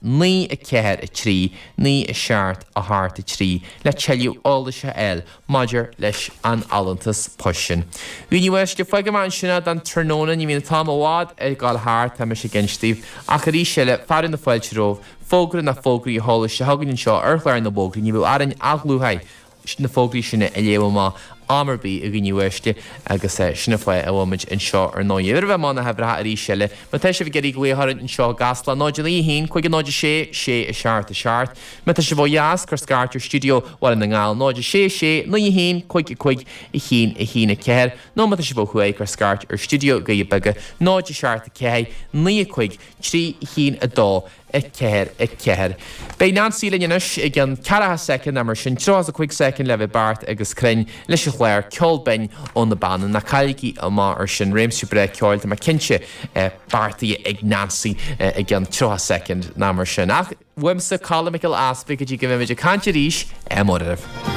9 4 3 9 7 8 3 le tuilleadh eolais a fháil maidir leis an fholúntas poist sin. A dhaoine uaisle, fágfaidh mé ansin é don tráthnóna, ní bhíonn an t-am i bhfad ag dul thart, tá mise ag inse daoibh, ach arís eile, fearadh na fáilte romhaibh, fógra nó fógraí a sheoladh isteach chugainn anseo ar chlár na bhfógraí, ní bheadh orainn ach luaithe. na fógraí sin a léamh amach am ar bith a dhaoine uaisle agus sin an fáth a bhfuil muid anseo ar ndóigh. Roimh a mbeidh na huimhreacha arís eile, má tá sibh ag iarraidh glaoch orainn anseo i gCasla, 0 9 1 5 0 6 6 7 7. Má tá sibh ó dheas, cuir scairt ar stiúideo Bhaile na nGall, 0 6 6 9 1 5 5 1 1 4, nó má tá sibh ó thuaidh, cuir scairt ar stiúideo Dhoirí Beaga, 0 7 4 9 5 3 1 2. 4, 4. Beidh Nancy linn anois i gceann ceathracha soicind nó mar sin, 35 soicind le bheith beart agus cruinn leis an chlár Ceol Binn ó na Beanna. Ná cailligí amach ar sin, réimse breá ceoil, tá mé cinnte, beartaithe ag Nancy i gceann 30 soicind nó mar sin. Ach uaimse, Colm Mac Giolla Easpaig, go dtí go mbeimid ag caint arís, ádh mór oraibh.